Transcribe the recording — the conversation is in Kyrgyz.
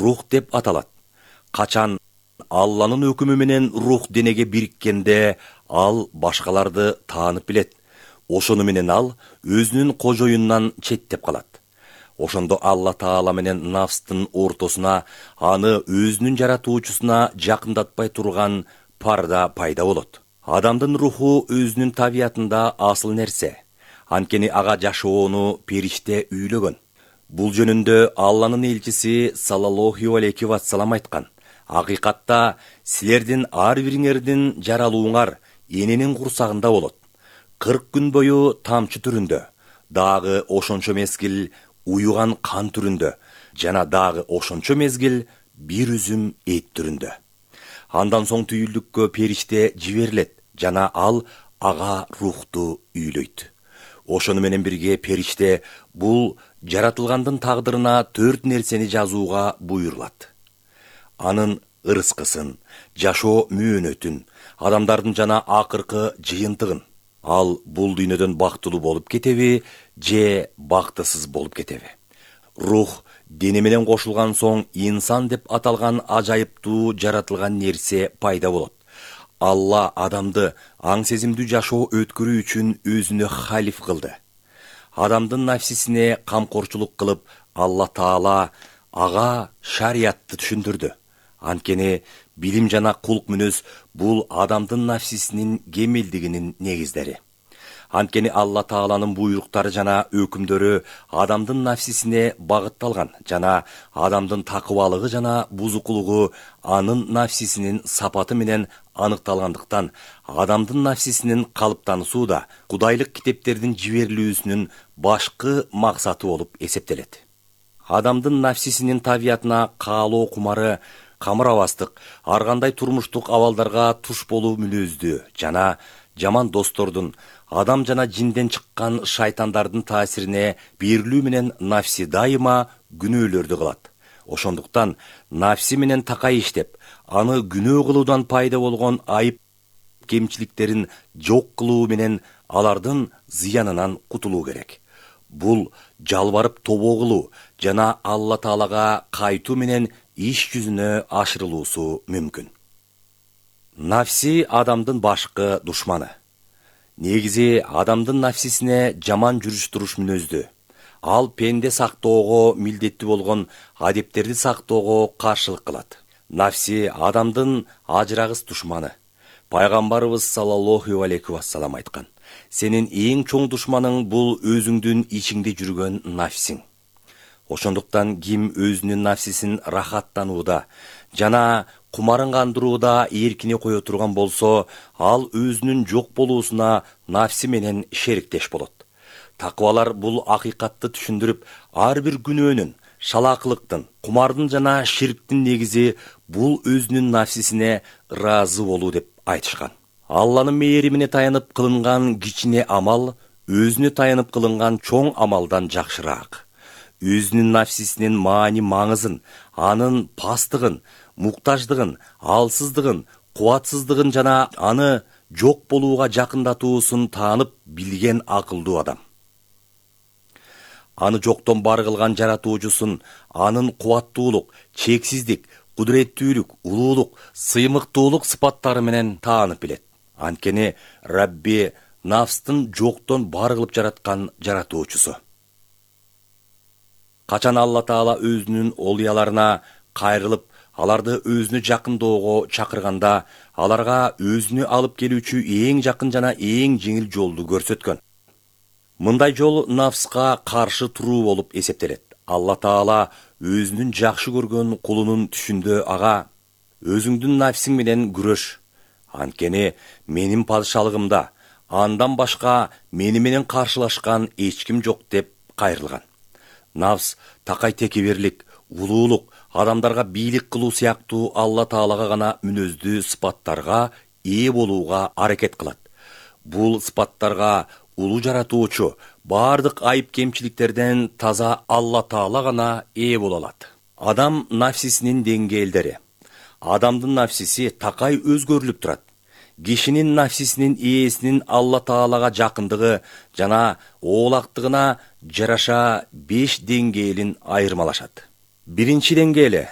рух деп аталат. Качан Алланын өкүмү менен рух денеге бириккенде ал башкаларды таанып билет. Ошону менен ал өзүнүн кожоюнунан четтеп калат. Ошондо Алла Таала менен нафстын ортосуна, аны өзүнүн жаратуучусуна жакындатпай турган парда пайда болот. Адамдын руху өзүнүн табиятында асыл нерсе. Анткени ага жашоону периште үйлөгөн. Бул жөнүндө Алланын элчиси саллаллаху алейхи вассалам айткан: "Акыйкатта силердин ар бириңердин жаралууңар эненин курсагында болот. 40 күн бою тамчы түрүндө, дагы ошончо мезгил уюган кан түрүндө, жана дагы ошончо мезгил бир үзүм эт түрүндө. Андан соң түйүлдүккө периште жиберилет, жана ал ага рухту үйлөйт." Ошону менен бирге периште бул жаратылгандын тагдырына 4 нерсени жазууга буйрулат. Анын ырыскысын, жашоо мөөнөтүн, адамдардын жана акыркы жыйынтыгын. Ал бул дүйнөдөн бактылуу болуп кетеби, же бактысыз болуп кетеби. Рух дене менен кошулган соң инсан деп аталган ажайыптуу жаратылган нерсе пайда болот. Алла адамды аң сезимдүү жашоо өткөрүү үчүн өзүнө халиф кылды. Адамдын нафсисине камкорчулук кылып, Алла Таала ага шариятты түшүндүрдү. Анткени билим жана кулк мүнөз бул адамдын нафсисинин кемелдигинин негиздери. Анткени Алла Тааланын буйруктары жана өкүмдөрү адамдын нафсисине багытталган, жана адамдын такыбалыгы жана бузукулугу анын нафсисинин сапаты менен аныкталгандыктан, адамдын нафсисинин калыптануусу да кудайлык китептердин жиберилүүсүнүн башкы максаты болуп эсептелет. Адамдын нафсисинин табиятына каалоо кумары, камырабастык, ар кандай турмуштук абалдарга туш болуу мүнөздүү жана жаман достордун, адам жана жинден чыккан шайтандардын таасирине берилүү менен нафси дайыма күнөөлөрдү кылат. Ошондуктан нафси менен такай иштеп, аны күнөө кылуудан пайда болгон айып кемчиликтерин жок кылуу менен алардын зыянынан кутулуу керек. Бул жалбарып тобо кылуу жана Алла Таалага кайтуу менен иш жүзүнө ашырылуусу мүмкүн. Нафси адамдын башкы душманы. Негизи адамдын нафсисине жаман жүрүш-туруш мүнөздүү. Ал пенде сактоого милдеттүү болгон адептерди сактоого каршылык кылат. Нафси адамдын ажырагыс душманы. Пайгамбарыбыз саллаллаху алейхи вассалам айткан: "Сенин эң чоң душманың бул өзүңдүн ичиңде жүргөн нафсиң." Ошондуктан ким өзүнүн нафсисин рахаттанууда жана кумарын кандырууда эркине кое турган болсо, ал өзүнүн жок болуусуна нафси менен шериктеш болот. Такыбалар бул акыйкатты түшүндүрүп, ар бир күнөөнүн, шалаакылыктын, кумардын жана ширктин негизи бул өзүнүн нафсисине ыраазы болуу деп айтышкан. Алланын мээримине таянып кылынган кичине амал өзүнө таянып кылынган чоң амалдан жакшыраак. Өзүнүн нафсисинин маани-маңызын, анын пастыгын, муктаждыгын, алсыздыгын, кубатсыздыгын жана аны жок болууга жакындатуусун таанып билген акылдуу адам. Аны жоктон бар кылган жаратуучусун, анын кубаттуулук, чексиздик, кудуреттүүлүк, улуулук, сыймыктуулук сыпаттары менен таанып билет. Анткени Рабби нафстын жоктон бар кылып жараткан жаратуучусу. Качан Алла Таала өзүнүн олуяларына кайрылып, аларды өзүнө жакындоого чакырганда, аларга өзүнө алып келүүчү эң жакын жана эң жеңил жолду көрсөткөн. Мындай жол нафска каршы туруу болуп эсептелет. Алла Таала өзүнүн жакшы көргөн кулунун түшүндө ага: "Өзүңдүн нафсиң менен күрөш. Анткени менин падышалыгымда андан башка мени менен каршылашкан эч ким жок" деп кайрылган. Нафс такай текеберлик, улуулук, адамдарга бийлик кылуу сыяктуу Алла Таалага гана мүнөздүү сыпаттарга ээ болууга аракет кылат. Бул сыпаттарга улуу жаратуучу бардык айып кемчиликтерден таза Алла Таала гана ээ боло алат. Адам нафсисинин деңгээлдери. Адамдын нафсиси такай өзгөрүлүп турат. Кишинин нафсисинин ээсинин Алла Таалага жакындыгы жана оолактыгына жараша 5 деңгээлин айырмалашат. Биринчи деңгээли